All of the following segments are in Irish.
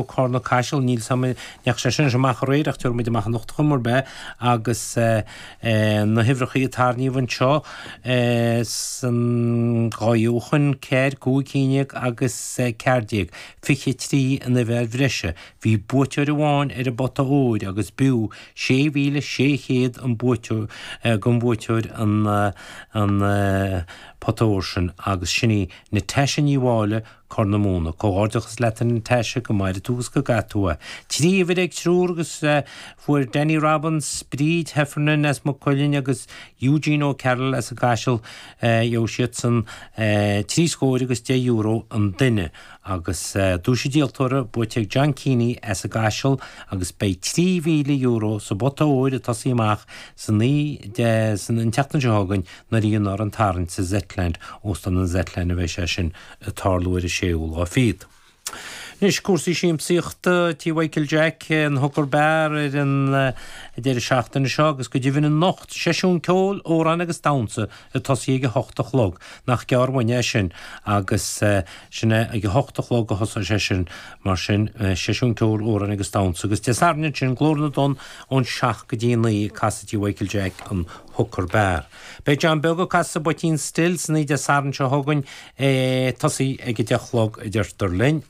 Cárna Caiseal, níl 's a'm an ndeachaigh sé sin amach aréir ach tabharfaidh muid amach anocht chuma ar bith agus na huimhreachaí a tarraingíodh anseo san dhá dheochan, 4, 5, 11 agus 14, 23 an uimhir bhreise. Bhí buaiteoir amháin ar an bpota óir agus b'fhiú 6,600 an buaiteoir don bhuaiteoir an pota óir sin agus sin í Natasha Ní Mháille, Corr na Móna. Comhghairdeachas leat a Natasha, go maire tú agus go gcaithe tú é. 3 uimhir ag triúr agus fuair Danny Robbins, Bríd Heffernan as Maigh Cuilinn agus Eugene O'Carroll as an gCaiseal, gheobhaidh siadsan 3 scóir agus €10 an duine. Agus duais an díoltóra buaite ag John Keaney as an gCaiseal agus beidh €3,000 sa bpota óir ag tosaí amach san an tseachtain seo chugainn nuair a dhéanfar an tarraingt sa Zetland, Óstán an Zetland a bheidh sé sin ag tarlú ar an séú lá fichead. Anois, cúrsaí siamsaíochta, Tí Mhichael Jack, an Hooker Bar ar an deireadh seachtaine seo agus go deimhin anocht, seisiún ceoil, amhráin agus damhsa ag tosaí ag a hocht a chlog. Nach gearr uainn é sin agus sin é ag a hocht a chlog a thosóidh sé sin mar sin, seisiún ceoil, amhráin agus damhsa agus Dé Sathairn ansin, Glór na dTonn ón seacht go dtí a naoi ag casadh Tí Mhichael Jack, an Hooker Bar. Beidh John Beag ag casadh sa bPoitín Stil san oíche Dé Sathairn seo chugainn, ag tosaí ag 10 a chlog a deirtear linn.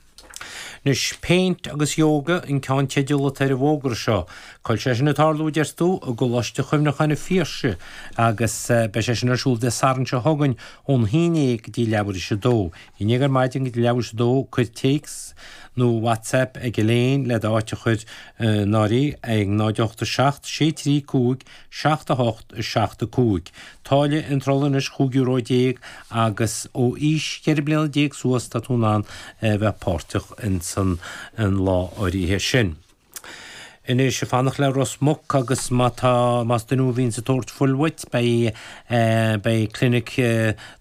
Anois, Péint agus Yoga an ceannteideal atá ar an bhfógra seo. Cá bhfuil sé sin ag tarlú, a deir tú? I gColáiste Chuimhneacháin an Phiarsaigh agus beidh sé sin ar siúl Dé Sathairn seo chugainn ón haon dhéag go dtí leathuair théis a dó. Haon dhéag ar maidin go dtí leathuair théis a dó, cuir téacs nó WhatsApp ag Elaine le d'áit a chur in áirithe ag 0 8 7 6 3 5 7 8 7 5. Táille iontrála anois €15 agus ó aois 14 bliana suas tá tú in ann bheith páirteach ins an lá áirithe sin. Anois, ag fanacht le Ros Muc agus má tá, más duine thú a bhíonns ag tabhairt fuil uait, beidh, beidh clinic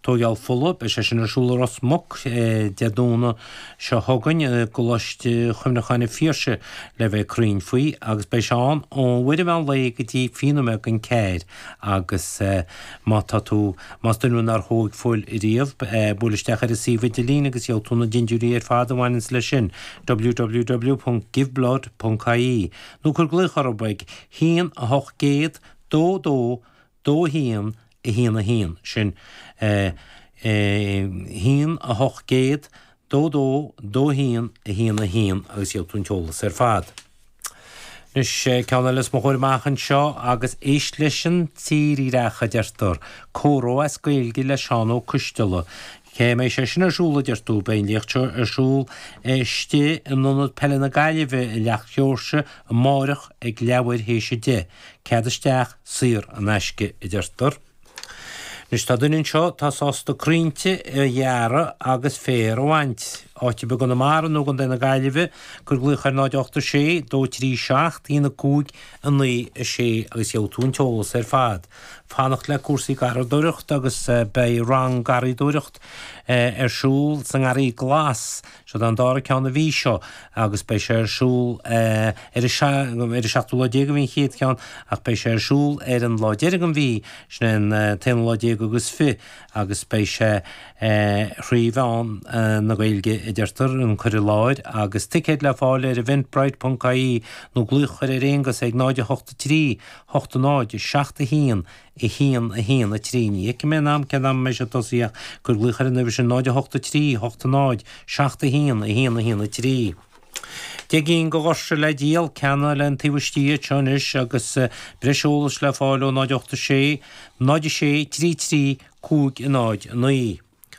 tóigeáil fola, beidh sé sin ar siúl i Ros Muc Dé Domhnaigh seo chugainn i gColáiste Chuimhneacháin an Phiarsaigh le bheith cruinn faoi agus beidh sé ann ó uair an mheán lae go dtí fiche nóiméad don ceathair agus má tá tú, más duine thú nár thóig fuil riamh, buail isteach ar an suíomh idirlín agus gheobhaidh tú na dindiúirí ar fad a bhaineanns leis sin, www.giveblood.ie nó cuir glaoch orthu ag 1 800 22 2 1 1 1, sin 1 800 2 2 2 1 1 1 agus gheobhaidh tú an t-eolas ar fad. Anois, ceann eile os mo chomhair amach anseo agus éist leis an tírdhreach, a deirtear. Comhrá as Gaeilge le Seán Ó Coisteala. Cá mbeidh sé sin ar siúl, a deir tú? Beidh an léacht seo ar siúl istigh in Ionad Peile na Gaillimhe i Leacht Sheoirse amáireach ag leathuair théis a deich. Cead isteach saor in aisce, a deirtear. Anois tá duine anseo atá sásta crainnte a ghearradh agus féar a bhaint. Áit ar bith i gConamara nó i gContae na Gaillimhe, cuir glaoch ar 0 8 6 2 3 7 1 5 9 6 agus gheobhaidh tú an t-eolas ar fad. Fanacht le cúrsaí garraíodóireachta agus beidh rang garraíodóireacht ar siúl sa nGarraí Glas Seo an dara ceann an mhí seo agus beidh sé ar siúl ar an seachtú lá déag a bhí an chéad cheann ach beidh sé ar siúl ar an lá deiridh den mhí, sin é an t-aonú lá déag agus fiche agus beidh sé thrí mheán na Gaeilge a deirtear, an cur i láthair agus ticéid le fáil ar eventbrite ponc ie nó glaoch a chur ar Aonghus ag 0 8 3 8 0 7 1 1, 1, 3. Ní fheicim aon am cén am a mbeidh sé tosaithe ach cuir glaoch ar an uimhir sin 0 8 3 8 0 7 1 1 1 3. Deich gcinn de dhoirse le díol, ceanna le an taobh istigh iad seo anois agus breis eolais le fáil ó 0 8 6 0 6 3 3 5 0 9.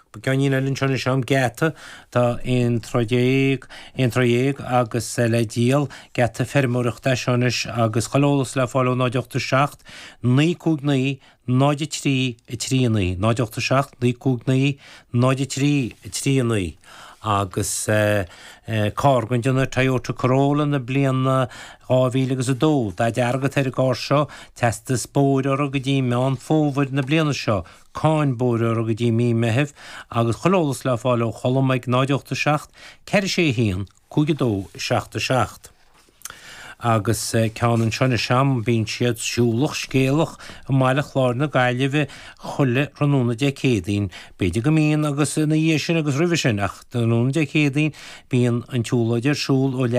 Ceainnín eile anseo anois agam, geata, tá aon troigh dhéag, aon troigh dhéag agus le díol, geata feirmeoireachta é seo anois agus chuile eolas le fáil ó 0 8 7 9 5 9 0 3 3 9, 0 8 7 9 5 9 0 3 3 9 agus carr den déanamh Toyota Corolla na bliana 2000 agus 2, dath dearg atá ar an gcarr seo, teastas bóthair orthu go dtí Meán Fómhair na bliana seo, cáin bóthair orthu go dtí mí Meithimh agus chuile eolas le fáil ó Cholm ag 0 8 7 4 6 1 5 2 7 7. Agus ceann anseo anois a'm, bíonn siad siúlach scéalach i mBaile Chláir na Gaillimhe chuile thráthnóna Dé Céadaoin, b'fhéidir go mbíonn agus ina dhiaidh sin agus roimhe sin, ach tráthnóna Dé Céadaoin bíonn an tsiúlóid ar siúl ó leath.